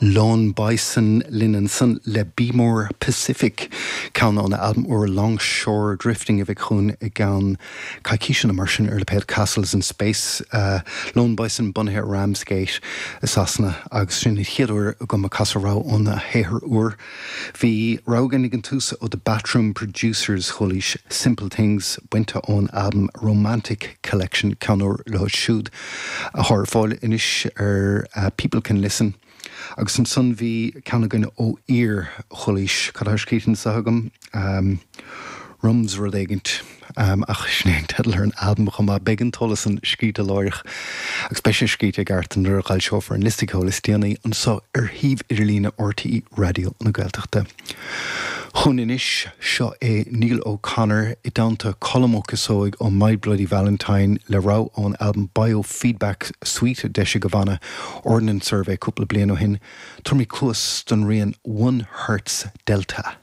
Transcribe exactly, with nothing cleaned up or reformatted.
Lone Bison linn ansan le Be More Pacific ceann óna albam úr Longshore Drifting a bheidh chugainn i gceann coicíse mar sin ar lipéad Castles in Space uh, Lone Bison bunaithe Ramsgate i Sasana agus sin an chéad uair agam ag casadh rogha óna shaothar úr. Bhí rogha ag an tús ó The Bathroom Producers chualaís Simple Things bainte ón album Romantic Collection ceann úr leo siúd atá ar fáil anois ar uh, People Can Listen. Agus ansan bhí ceann againn ó fhir chualaís cad scríte anseo agam um, Rums rud éigint um, ach sin é teideal ar an albam chomh maith beidh an t-eolas san scríte láithreach agus beidh sé scríte i gceart nuair a fhoilseofar an liosta ceoil is déanaí anseo ar shuíomh idirlíne RTÉ Raidió na Gaeltachta. Chun anois seo é Neil O'Connor i dteannta Colm Ó Cíosóig ó My Bloody Valentine le rogha ón album Biofeedback Suite d'eisigh a bhanna Ordnance Survey cúpla bliain ó shin, Tabharfaimid cluas don rian One Hertz Delta.